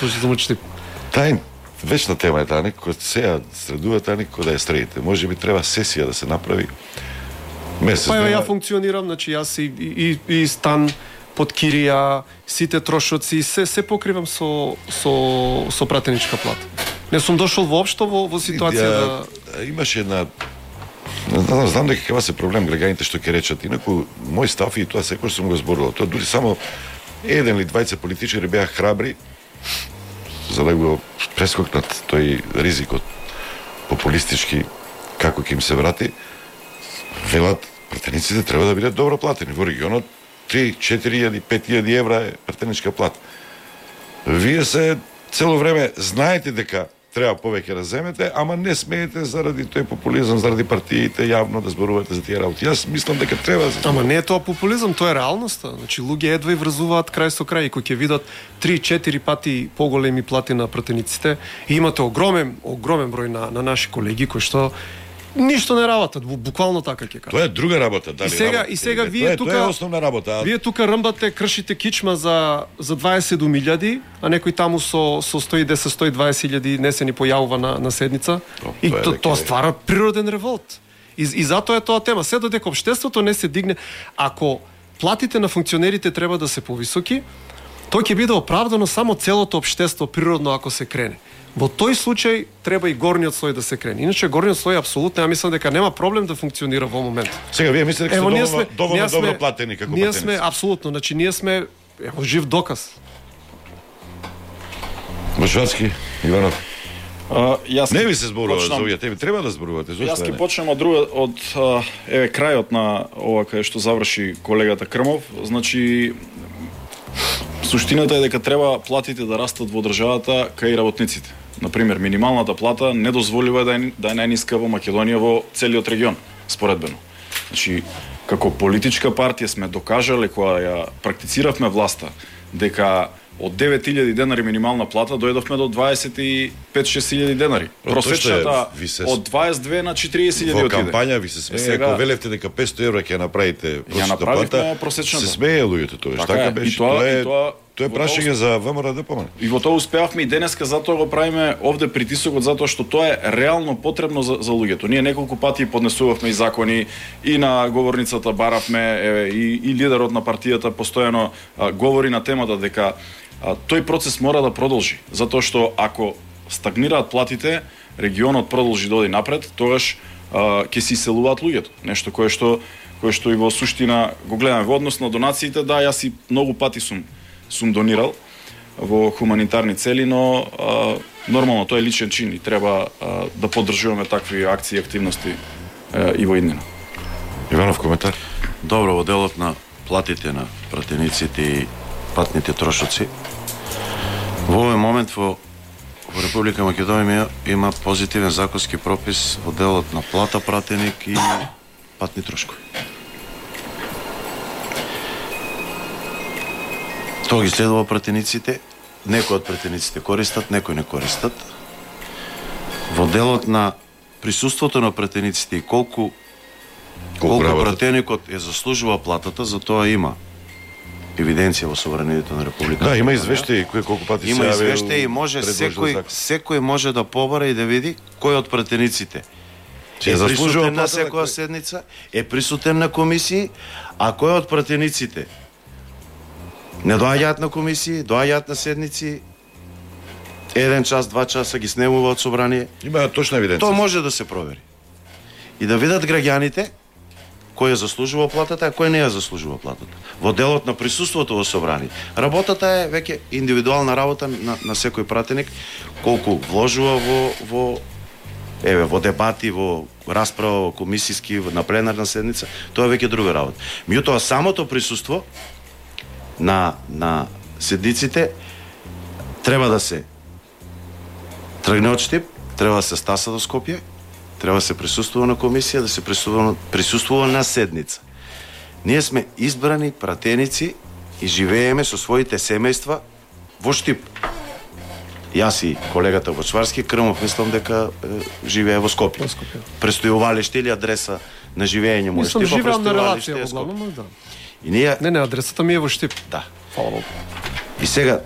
Точно замучите. Тај вечна тема е таа, некој сега средува таа, некој да ја средите. Може би треба сесија да се направи. Месец. Па ја функционирам, значи јас и стан под кирија, сите трошоци, се покривам со пратеничка плата. Не сум дошол воопшто во ситуација да имаше една знам дека ќе се проблем граѓаните што ќе речат. Инаку мој став и тоа секогаш сум го зборувал. Тоа дури само еден или двајца политичари беа храбри за да го прескокнат тој ризикот популистички како ќе им се врати. Велат пратениците треба да бидат добро платени во регионот. 3-4.000, 5.000 евра е пратеничка плата. Вие се цело време знаете дека треба повеќе да земете, ама не смеете заради тој популизам, заради партиите јавно да зборувате за тие работи. Јас мислам дека треба да се... Ама не е тоа популизам, тоа е реалноста. Значи луѓе едва и врзуваат крај со крај и кога ќе видат 3-4 пати поголеми плати на пратениците и имате огромен број на наши колеги кои што ништо не работат, буквално така ќе кажам. Тоа е друга работа, дали. И сега вие тука тоа е основна работа. Вие тука рмбате, кршите кичма за 27.000, а некој таму со 110-120.000 не се ни појавува на седница. И тоа ствара природен револт. И затоа е тоа тема. Се додека општеството не се дигне, ако платите на функционерите треба да се повисоки, тоа ќе биде оправдано само целото општество природно ако се крене. Во тој случај треба и горниот слој да се крене. Иначе горниот слој апсолутно ја мислам дека нема проблем да функционира во момент. Сега вие мислите дека се доволно добро платени како ние сме апсолутно, значи ние сме жив доказ. Бошварски, Иванов. Јас не ви се зборува за овие теми, треба да зборувате. Јас ќе почнем од крајот на ова кај што заврши колегата Крмов. Значи суштината е дека треба платите да растат во државата кај работниците. Например, минималната плата не дозволува да е најниска во Македонија во целиот регион, споредбено. Значи, како политичка партија сме докажале кога ја практициравме власта дека од 9.000 денари минимална плата дојдовме до 25-6.000 денари. Просечната од 22 на 40.000 во отиде. кампања ви се смее, ако велевте дека 500 евра ќе направите просечната плата, се смее луѓето тоа. Така беше. Тоа е прашање за ВМРО ДПМН. И во тоа успеавме и денеска, затоа го правиме овде притисокот, затоа што тоа е реално потребно за луѓето. Ние неколку пати поднесувавме и закони, и на говорницата баравме, и лидерот на партијата постојано говори на темата дека тој процес мора да продолжи, затоа што ако стагнираат платите, регионот продолжи да оди напред, тогаш ќе се иселуваат луѓето. Нешто кое што и во суштина го гледаме во однос на донациите, да, јас и многу пати сум донирал во хуманитарни цели, но нормално тоа е личен чин и треба да поддржуваме такви акции и активности и во иднина. Иванов, коментар? Добро, во делот на платите на пратениците и патните трошоци, во овој момент во Република Македонија има позитивен законски пропис во делот на плата пратеник и патни трошкови. Тоа ги следува пратениците, некои од пратениците користат, некои не користат. Во делот на присуството на пратениците и колку пратеникот е заслужува платата, за тоа има евиденција во собранието на Република. Да, има извештаи колку пати се јавил. Има извештаи и може секој може да побара и да види кој од пратениците е присутен на секоја седница, е присутен на комисии, а кој од пратениците не доаѓаат на комисии, доаѓаат на седници, 1 час, 2 часа ги снемуваат собрание. Има точна евиденција. Тоа може да се провери. И да видат граѓаните кој ја заслужува платата, а кој не ја заслужува платата. Во делот на присуството во собрание. Работата е веќе индивидуална работа на секој пратеник, колку вложува во дебати, во расправа, во комисиски, на пленарна седница, тоа е веќе друга работа. Меѓутоа самото присуство на седниците треба да се тргне од Штип, треба да се стаса до Скопје, треба да се присуствува на комисија, да се присуствува на седница. Ние сме избрани пратеници и живееме со своите семејства во Штип. Јас и колегата Бочварски, Крмов, мислам дека живее во Скопје. Престојувалиште или адреса на живење му е Штип, живеам на релација во главно, да. И ние... Не, адресата ми е во Штип. Да. Фала Богу. И сега